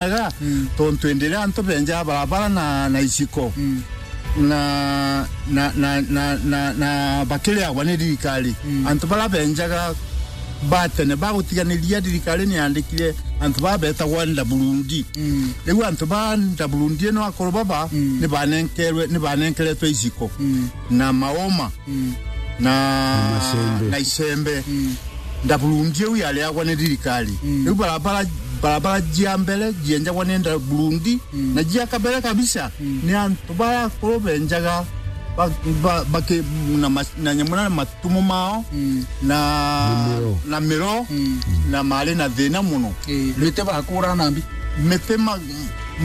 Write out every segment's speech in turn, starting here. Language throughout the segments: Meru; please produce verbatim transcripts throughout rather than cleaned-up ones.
Ga, mm, tontu indi iria antu benjaga barabara na, na iciko, mm, na, na, na, na, na, na bakiriagwa ni thirikari. Mm. Antu bara benjaga ba tene bagutiganiria, thirikari ni yandikire antu ba betagwa Ndaburundi. Mm. Riu antu ba Ndaburundi ino akuru baba, mm, ni banenkerwe, ni banenkeretwe iciko, mm, na maoma, mm, na, na macembe, na icembe. Mm. Ndaburundi iu yariagwa ni thirikari. Mm. Riu barabara, barabara cia mbere cienjagwa ni Ndaburundi, mm, na cia kabere kabisa, mm, ni antu bara akuru benjaga ba, ba, baki, na ma, na nyamura na matumo mao, mm, na, na miro, na miro, mm, na mari na thina muno. Ii, miti bakuraga na mbi. Miti ma,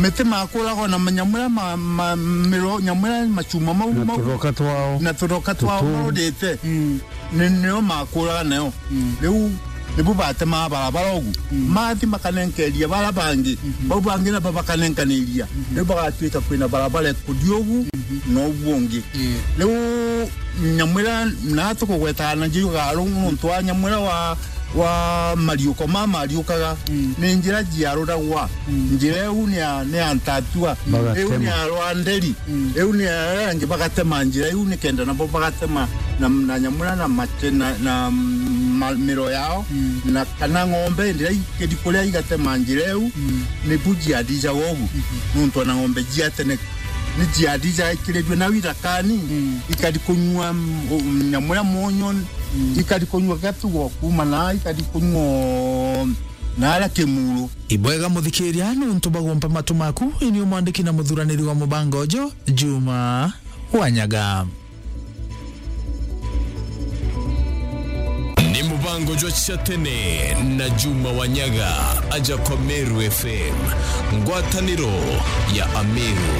miti makuragwa na manyamura ma, ma, miro, nyamura macuma mau, na mau, turoka twao, na turoka twao tutu, marudite. Mm. Ni, nio makuraga nayo. Mm. Riu nibu batemaga barabara ugu. Mm. Mathi makanenkeria bara bangi. Mhm. Bau bangi nabo bakanenkaniria. Mhm. Riu bagatuika kwina barabara ikuthi ugu, mhm, na ugu ungi. Ii. Riu nyamwira na tukugwetaga na njiugaga ru nontu wa nyamwira wa, wa mariuko ma mariukaga. Mm. Ni njira jiaruragwa. Mm. Njira iu ni ya, ni ya Ntatua. Bagatema. Iu ni ya Rwanderi. Mm. Iu ni aria angi bagatema njira iu nikenda nabo bagatema na, na nyamura na mate, na, na ma, miro yao, mm, na kana ng'ombe indi iria ikiri kuria igatema njira iu, mm, ni bu jiathijaga ugu. Mhm. Nontu ona ng'ombe jia tene ni jiathijaga ikiririo nau ithakani, mm, ikari kunyua, mm, nyamura munyu, mm, ikari kunyua gatugo kuma na ikari kunyua na aria kimuru. Ibwega muthikiria nontu bagompa matu maku, ini umwandiki na muthuraniri wa mubango uju, Juma Wanyaga. Ni mubango jwa cia tene na Juma Wanyaga, aja kwa Meru F M, ngwataniro ya Ameru.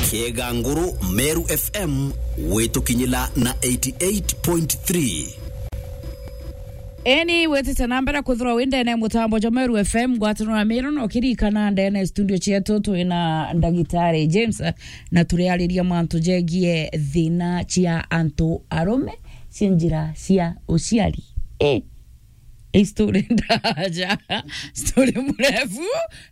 Kiega Nguru, Meru F M, witukinyila na eighty eight point three. Eni witite na mbere kwithirwa wi ndene mutambo jwa Meru F M, ngwataniro ya Meru, na ukirikana ndene studio cietu twina ndagitari James, na turiariria mantu jegie thina cia antu arume cia njira cia uciari. Eh. Hii story ndaja, story mrefu,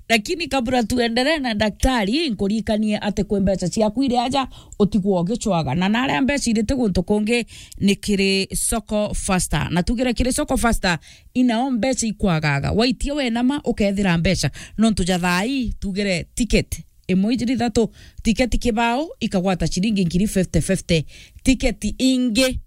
lakini kabla tuendelee na daktari, nkuririkanie ati kwi mbeca ciaku iri aja, utigwe ugicwaga. Na naria mbeca irite guntu kungi ni kiri Soko Faster. Na tugire kiri Soko Faster, inao mbeca ikwagaga. Waitia wenama, ukethira mbeca. Nontu ja thaa ii, tugire ticket imwe ijiri ithatu, ticket kibao ikagwata ciringi ngiri fifty fifty. Ticket ingi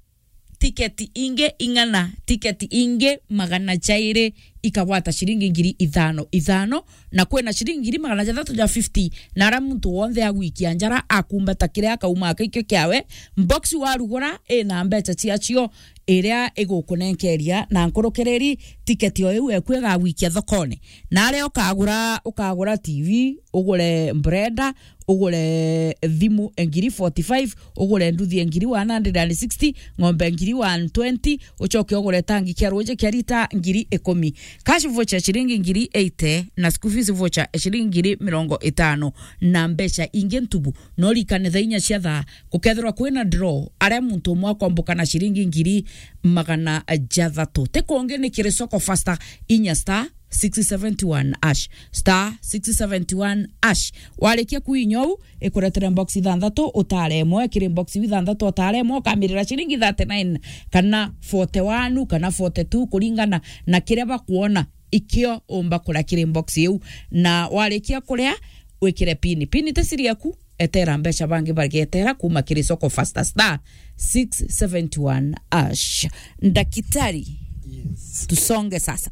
tiketi ingi ing'ana, tiketi ingi magana jairi ikagwata ciringi ngiri ithano ithano, na kwina ciringi ngiri magana jathatu ja fifty, na aria muntu wonthe agwikia njara akumbata kiria akauma akikio kiawe, box warugura ina mbeca ciacio iria igukunenkeria na nkurukiriri tiketi o iu eku igagwikia thokone. Na aria ukagura, ukagura T V, ugure mbrenda, ugure thimu e ngiri forty-five, ugure nduthi e ngiri one hundred and sixty, ng'ombe e ngiri one twenty, ucoke ugure tangi kia ruuji kia rita ngiri ikumi. Cash voucher ciringi ngiri eighty na school fees voucher e ciringi ngiri mirongo itano na mbeca ingi ntubu. No rikane thaa inya cia thaa gukethirwa kwina draw, aria muntu umwe akomboka na ciringi ngiri magana jathatu. Ti kungi ni kiri Soko Faster, inya star six seventy one hash, star six seventy one hash. Warikia kuinya uu, ikuretere box ithanthatu, utare imwe. Kiri box iu ithanthatu, utare imwe, ukamirira ciringi thirty nine, kana forty one, kana forty two, kuringana na kiria bakwona ikio umba kuria kiri box iu. Na warikia kuria, wikire pin. Pin ti siri yaku, etera mbeca bangi bagetera kuma kiri Soko Faster, star six seventy one hash. Ndakitari, yes, tusonge sasa.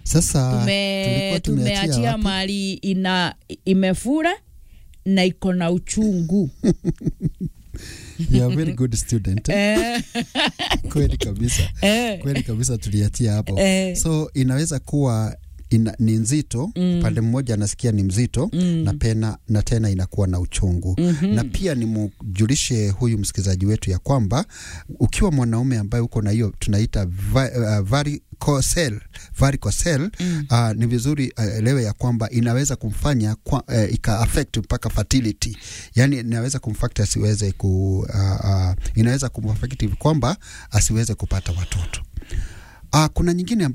Sasa tume-, tulikuwa tumeachia tumeachia wapi? Mali ina, imefura na iko na uchungu. You are a very good student, eh? Eh. Kweli kabisa. Eh. Kweli kabisa, tuliachia hapo. Eh. So, inaweza kuwa ina-, ni nzito, mm, upande mmoja nasikia ni mzito, mm, na pena-, na tena inakuwa na uchungu. Mhm. Na pia nimjulishe huyu msikilizaji wetu ya kwamba ukiwa mwanaume ambaye uko na hiyo tunaita va-, uh, vari-, varicocele, varicocele, mm, ah, ni vizuri, ah, elewe ya kwamba inaweza kumfanya kwa, eh, ika affect mpaka fertility. Yani inaweza kumfanya asiweze ku-, ah, ah, inaweza kumaffect kwamba asiweze kupata watoto. Ah, kuna nyingine